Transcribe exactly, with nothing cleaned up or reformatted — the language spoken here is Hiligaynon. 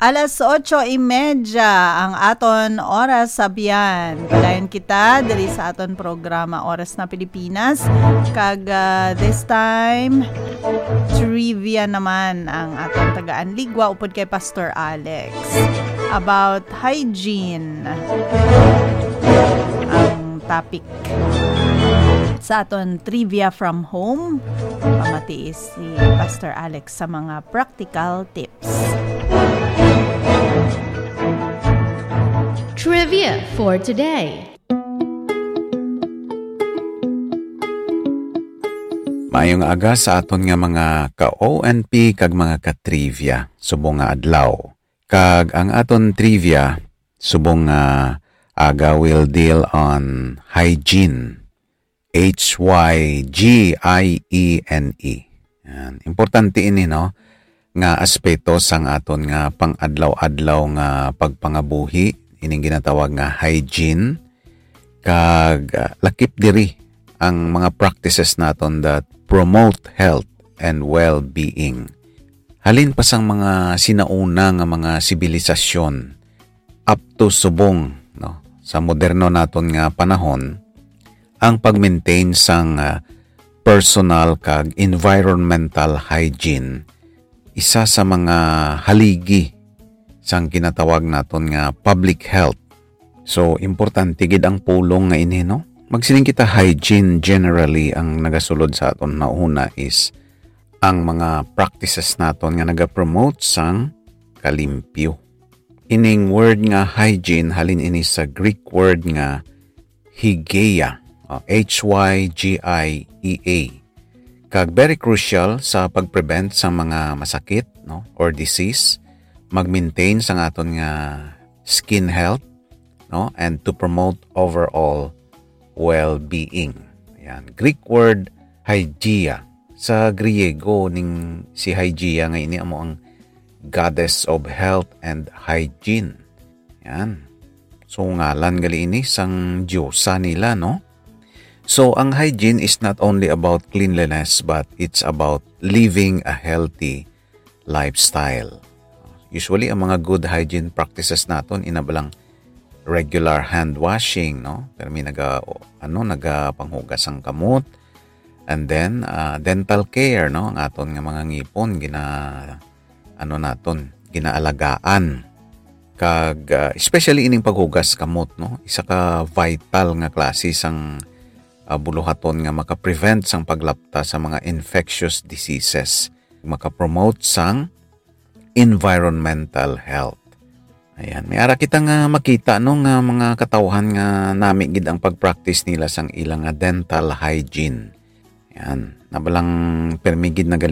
Alas otso y media ang aton oras sa biyan. Padayon kita diri sa aton programa Oras na Pilipinas. Kag, ah, this time, trivia naman ang aton tagaan ligwa upod kay Pastor Alex about hygiene. Ang topic sa aton trivia from home, pamati si Pastor Alex sa mga practical tips. Trivia for today. Maayong aga sa aton nga mga ka-O N P kag mga ka-trivia subong nga adlaw. Kag ang aton trivia subong nga aga will deal on hygiene. H Y G I E N E. Yan. Importante ini, no, nga aspeto sang aton nga pang-adlaw-adlaw nga pagpangabuhi, ining ginatawag nga hygiene, kag, ah, lakip diri ang mga practices naton that promote health and well-being. Halin pa sang mga sinauna nga mga sibilisasyon, up to subong, no, sa moderno naton nga panahon, ang pag-maintain sang, ah, personal kag environmental hygiene isa sa mga haligi sang ginatawag naton nga public health. So, importante gid ang pulong nga ini, no? Magsiling kita, hygiene generally ang nagasulod sa aton nauna is ang mga practices naton nga nagapromote sang kalimpyo. Ining word nga hygiene halin ini sa Greek word nga hygeia, o, H Y G I E A. Kag very crucial sa pag-prevent sa mga masakit, no, or disease, mag-maintain sang aton nga skin health, no, and to promote overall well-being. Yan. Greek word hygeia. Sa Griego, ning si Hygeia nga ini amo ang goddess of health and hygiene. Yan. So, ngalan gali ini sang diyosa nila, no? So, ang hygiene is not only about cleanliness, but it's about living a healthy lifestyle. Usually, ang mga good hygiene practices naton, ina ba lang regular hand washing, no? Pero may naga, ano, nagapanghugas ang kamot. And then, ah, dental care, no? Ang aton nga mga ngipon, gina, ano naton, ginaalagaan. Kag, ah, especially ining paghugas kamot, no? Isa ka vital nga klase sang, ah, buluhaton nga maka-prevent sang paglapta sa mga infectious diseases. Maka-promote sang environmental health. Ayan, may ara kita nga makita, no, nga mga katawhan nga nami gid ang pag-practice nila sang ilang nga dental hygiene. Yan, nabalang permi gid na gali